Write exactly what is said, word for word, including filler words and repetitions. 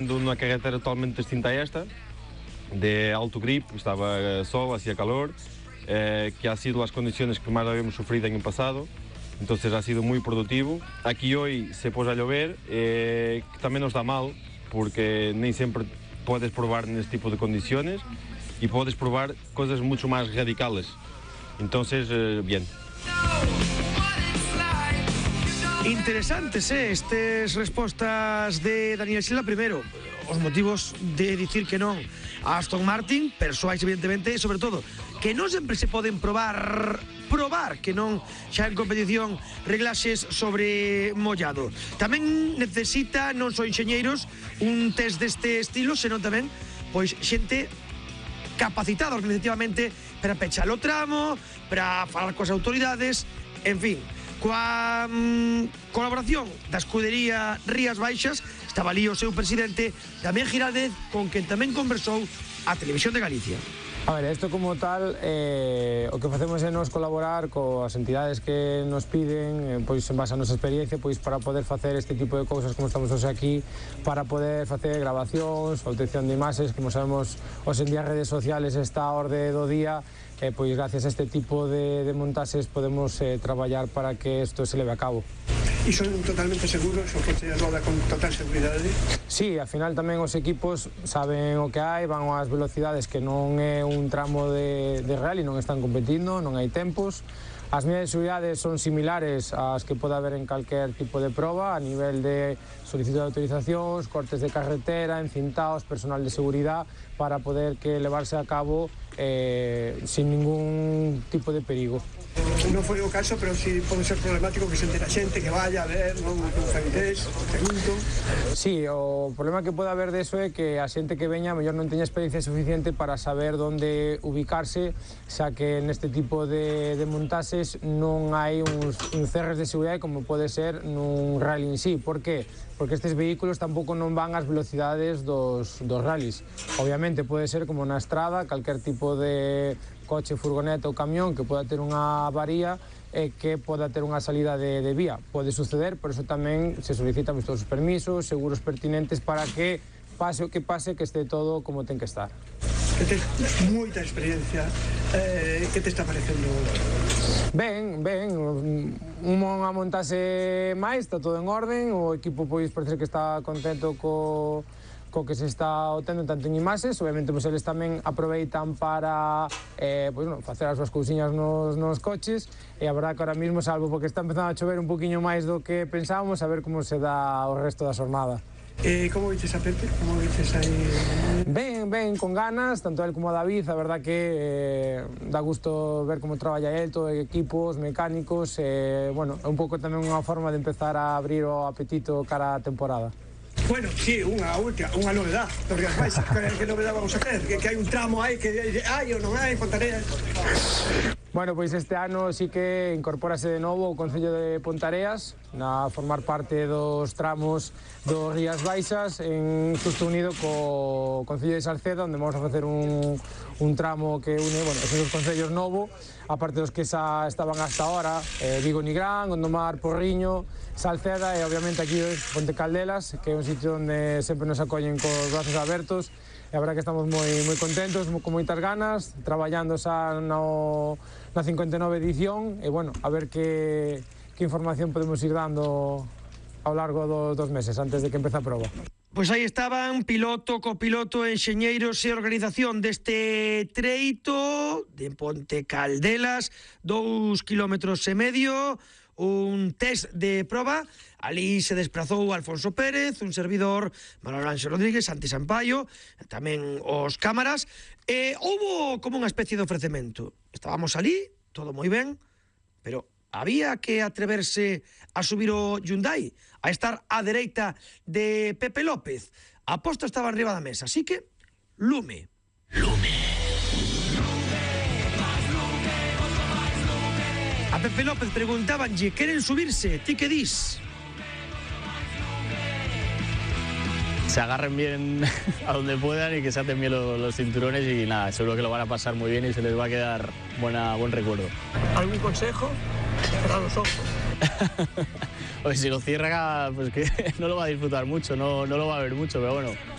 Una carretera totalmente distinta a esta, de alto grip, estaba sol, hacía calor, eh, que ha sido las condiciones que más habíamos sufrido en el pasado, entonces ha sido muy productivo. Aquí hoy se puso a llover, eh, que también nos da mal, porque ni siempre puedes probar en este tipo de condiciones y puedes probar cosas mucho más radicales, entonces eh, bien. Interesantes, eh, estas respostas de Daniel Silva. Primeiro, os motivos de dicir que non a Aston Martin, persoais evidentemente, e sobre todo, que non sempre se poden probar probar, que non xa en competición reglaxes sobre mollado. Tamén necesita, non só enxeñeiros, un test deste estilo, senón tamén, pois, xente capacitada organizativamente para pechar o tramo, para falar coas autoridades, en fin. Coa mm, colaboración da escudería Rías Baixas estaba ali o seu presidente Damián Giraldez, con quen tamén conversou a Televisión de Galicia. A ver, isto como tal, eh, o que facemos é nos colaborar coas entidades que nos piden, eh, pois en base a nosa experiencia, pois para poder facer este tipo de cousas como estamos hoxe aquí, para poder facer grabacións, obtención de imaxes, como sabemos, hoxe en día redes sociales está a orde do día, eh, pois gracias a este tipo de, de montaxes podemos eh, traballar para que isto se leve a cabo. E son totalmente seguros, o que se roda con total seguridade? Sí, ao final tamén os equipos saben o que hai, van ás velocidades que non é un tramo de, de rally, non están competindo, non hai tempos. As medidas de seguridade son similares ás que pode haber en calquer tipo de proba, a nivel de solicitud de autorizacións, cortes de carretera, encintados, personal de seguridade, para poder que levarse a cabo eh, sin ningún tipo de perigo. Non foi o caso, pero si pode ser problemático que se entera xente, que vaya a ver, non que fai interés, pregunto. Sí, o problema que pode haber deso é que a xente que veña a mellor non teña experiencia suficiente para saber onde ubicarse, xa que neste tipo de, de montaxes non hai uns, uns cerres de seguridade como pode ser nun rally en sí. Por que? Porque estes vehículos tampouco non van ás velocidades dos, dos rallies. Obviamente pode ser como na estrada, calquer tipo de coche, furgoneta ou camión que poda ter unha avaría e que poda ter unha salida de, de vía. Pode suceder, por eso tamén se solicitan todos os permisos, seguros pertinentes para que pase o que pase, que este todo como ten que estar. Que tes moita experiencia, eh, que te está parecendo? Ben, ben, unha montase máis, está todo en orden, o equipo pois parece que está contento co co que se está obtendo tanto en imaxes, obviamente pois eles tamén aproveitan para eh, pois, no, facer as súas cousiñas nos, nos coches, e a verdade que ahora mismo, salvo porque está empezando a chover un poquinho máis do que pensábamos, a ver como se dá o resto da xornada. Eh, como viches a Pepe? Como viches aí? Ben, ben, con ganas, tanto él como a David, a verdad que eh, dá gusto ver como traballa él, todo equipos, mecánicos, e, eh, bueno, é un pouco tamén unha forma de empezar a abrir o apetito cara a temporada. Bueno, sí, unha última, unha novedad dos Rías Baixas. Que novedad vamos a ter? Que, que hai un tramo aí que hai ou non hai, Pontareas? Bueno, pois este ano sí que incorpórase de novo o Concello de Pontareas a formar parte dos tramos dos Rías Baixas, en xusto unido co Concello de Salceda, onde vamos a facer un, un tramo que une, bueno, esos dos concellos novo, aparte dos que xa estaban hasta ahora, eh, Vigo Nigrán, Gondomar, Porriño, Salceda e obviamente aquí Ponte Caldelas, que é un sitio onde sempre nos acollen cos brazos abertos. E a verdade que estamos moi, moi contentos, con moitas ganas, traballando xa no, na cincuenta e nove edición, e bueno, a ver que, que información podemos ir dando ao largo dos, dos meses, antes de que empece a proba. Pois aí estaban, piloto, copiloto, enxeñeiros e organización deste treito de Ponte Caldelas, dous kilómetros e medio, un test de proba. Ali se desprazou Alfonso Pérez, un servidor, Manuel Ángel Rodríguez, Santi Sampaio, tamén os cámaras, e houbo como unha especie de ofrecemento. Estábamos ali, todo moi ben, pero había que atreverse a subir o Hyundai, a estar á dereita de Pepe López. A aposta estaba arriba da mesa, así que lume. Lume. A Pepe López preguntábanlle, queren subirse, ti que dis? Se agarren bien a donde puedan y que se aten bien los, los cinturones y nada, seguro que lo van a pasar muy bien y se les va a quedar buena, buen recuerdo. ¿Algún consejo? Cerrar los ojos. Pues si lo cierra, pues que no lo va a disfrutar mucho, no, no lo va a ver mucho, pero bueno,